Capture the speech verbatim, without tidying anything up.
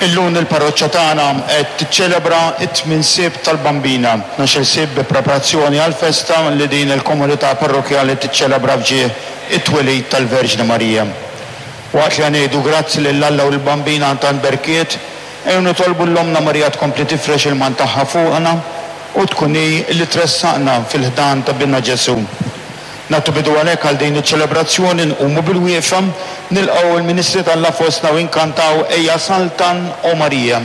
Illum il-parroċċa tagħna qed tiċċelebra t-tmien Sibt tal-Bambina, tnax-il Sibt bi preparazzjoni għall-festa li din il-komunità parrokkjali tiċċelebra f'ġieħ it-twelid tal-Verġni Marija. Waqt li ngħidu grazzi lil Alla u l-Bambina tant berkiet, ejjew nitolbu lil Ommna Marija tkompli tifrex il-mant tagħha fuqna u tkun hi li tressaqna fil-ħdan ta' Binha Ġesù. Nagħtu bidu għalhekk għal din iċ-ċelebrazzjoni nqumu bil-wieqfa, nilqgħu l-ministri t'Alla fostna u nkantaw Ejja Saltan o Marija.